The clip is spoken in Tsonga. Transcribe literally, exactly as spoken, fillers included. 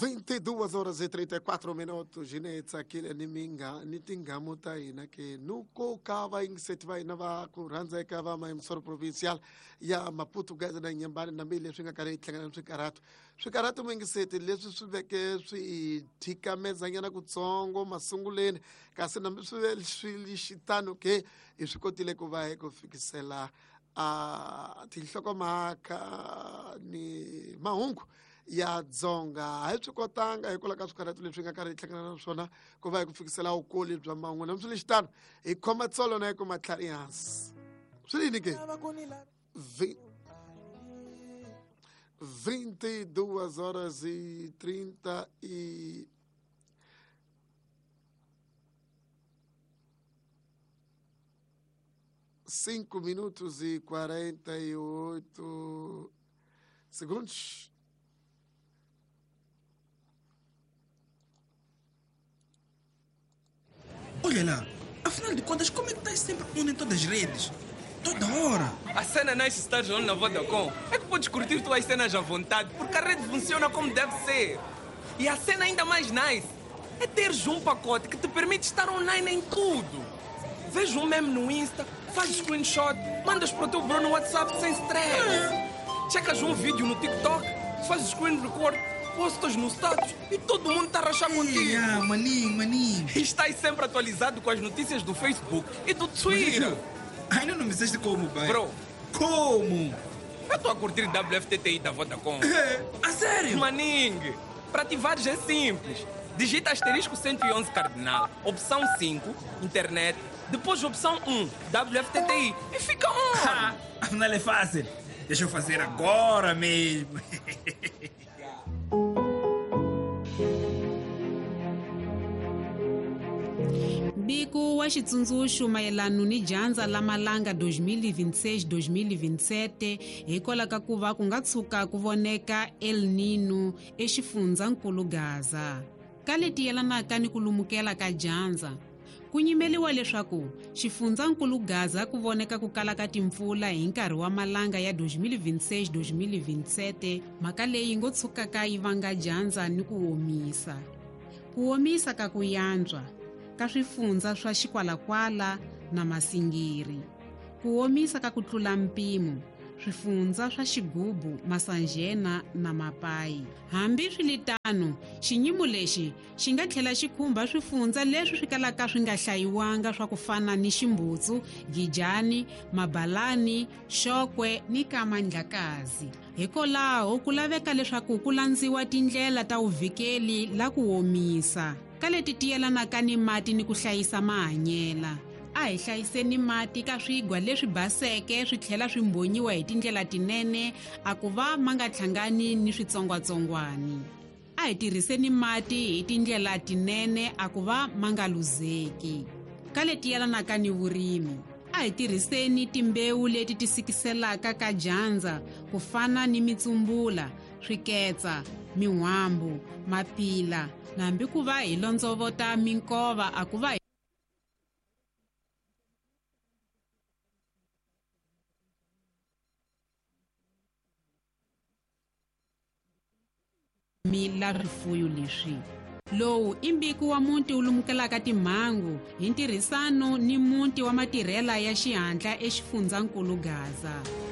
vinte e duas horas e trinta e quatro minutos Ginetsa kile ni minga ni tingamu ta hina ke nuko ka va yingiseti va hina va ku rhandzeka va mayimsoro provincial ya Maputo Gaza na Nyambani na mbi leswi nga karhi yi hlangana na swikarhato swikarhato muyingiseti leswi swi veke swi thikamezanyana kutsongo masunguleni kasi nambi swi ve swi xitano ke hi swi kotile ku va hi ku fikisela a tinhlokomhaka ni mahungu ya Dzonga. A hi swi kotanga hikwalaho ka swikarhato leswi nga karhi hi hlangana na swona ku va hi ku fikisela vukoli bya mahungu na swi lexitano hi khoma tsolo na hi kuma tlhari hansi swi yini ke vinte e duas horas e trinta e cinco minutos e quarenta e oito segundos. Olha lá, afinal de contas, como é que estás sempre on em todas as redes? Toda hora! A cena nice estás on na Vodacom é que podes curtir tuas cenas à vontade, porque a rede funciona como deve ser. E a cena ainda mais nice é teres um pacote que te permite estar online em tudo. Vês um meme no Insta, fazes screenshot, mandas para o teu bro no WhatsApp sem stress. Checas um vídeo no TikTok, fazes screen record, postas no status e todo mundo está a rachar contigo. Yeah, maninho, maninho. E estás sempre atualizado com as notícias do Facebook e do Twitter. Mas, ainda não me disseste como, pai. Bro. Como? Eu estou a curtir W F T T I da Vodacom. É, a sério? Maningue, para ativares é simples. Digita asterisco cento e onze cardinal, opção cinco, internet, depois opção um, W F T T I e fica on. Afinal é fácil. Deixa eu fazer agora mesmo. Mbiko wa xitsundzuxo mayelana ni dyandza la malanga dois mil e vinte e seis dois mil e vinte e sete hikwalaho ka ku va ku nga tshuka ku voneka El Nino exifundzankulu Gaza. Ka leti yelanaka ni ku lumukela ka dyandza, ku nyimeliwa leswaku xifundzankulu Gaza ku voneka ku kala ka timpfula hi nkarhi wa malanga ya dois mil e vinte e seis dois mil e vinte e sete, mhaka leyi ngo tshukaka yi vanga dyandza ni ku omisa. Ku omisa ka ku yantswa ka swifundza swa Xikwalakwala na Masingiri. Ku omisa ka ku tlula mpimo swifundza swa Xigubu, Masanjena na Mapai. Hambi swiritano, xinyimo lexi xi nga tlhela xi khumba swifundza leswi swi kalaka swi nga hlayiwanga swa ku fana ni Ximbutsu, Gijani, Mabalani, Xokwe ni Kamandlakazi. Hikwalaho ku laveka leswaku ku landziwa tindlela ta vuvikeli la ku omisa ka leti ti yelanaka ni mati ni ku hlayisa mahanyela. A hi hlayiseni mati ka swigwa leswi baseke swi tlhela swi mbonyiwa hi tindlela tinene a ku va ma nga hlangani ni switsongwatsongwani. A hi tirhiseni mati hi tindlela tinene a ku va ma nga luzeki. Ka leti yelanaka ni vurimi, a hi tirhiseni timbewu leti ti sikiselaka ka dyandza ku fana ni mitsumbula, swiketsa, min'wambu, mapila, nambi ku va hi londzovota minkova a ku va mila swifuyo leswi. Lowu i mbiko wa muti wu lumukelaka timhangu hi ntirhisano ni muti wa matirhela ya xihatla exifundzankulu Gaza.